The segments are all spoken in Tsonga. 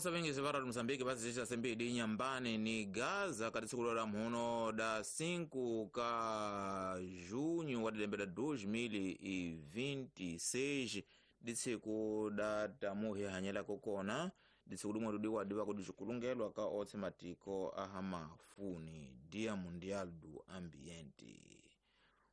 Osa vengezi va Radio Mozambique va zixa sembidi Nyambani ni Gaza ka tsiku la mhuno da 5 ka junho wa lembe la 2026, ditsiku da tamuhi hanyelako kona ditsiku limwe ludiwa diva kudixikulungelwa ka otse matiko aha mafuni Dia Mundial do Ambiente.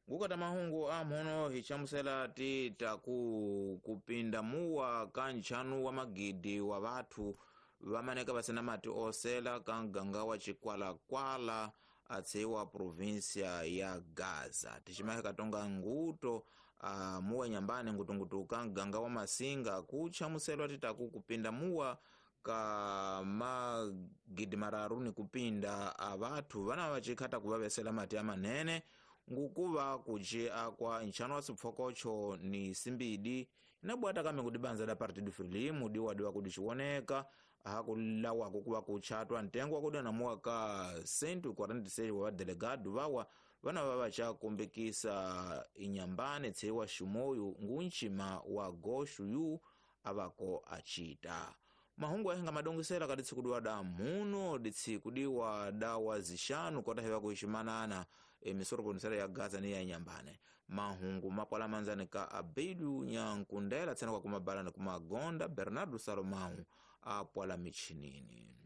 Ngukata mahungu a mhono hichamusela ti taku kupinda muwa ka nchanu wa magidi wa vathu vamaneka vasina mati osela ka mganga wa Chikwalakwala atseiwa província ya Gaza. Tiximahe katonga nguto a muwa Nyambani ngutungutu ka mganga wa Masinga kuchamuselwa titaku kupinda muwa ka magidi mararu ni kupinda a vathu vana vachikhata kuvavesela mati amanene ngukuva kuci akwa nchano wa sipfokocho ni simbidi inabwata kame kudibanza da Partido Frelimo diwadiwa kudixiwoneka ahakulawako kuva kuchatwa ntengo wa kudana muwa ka 146 wa vadelegado vawa vana va vachakumbikisa inyambane tseiwa ximoyu ngunchima wa goshu yu avako acita. Mahungu ahenga madongesela kadi tsiku diwa da muno ditsiku diwa da wazixanu kota heva kuiximanana emisoro ya Gaza ni ya Nyambane. Mahungu mapwala manzani ka Abedu Nyankundela tsena kwa kumabalani kumagonda Bernardo Salomão apwala michinini.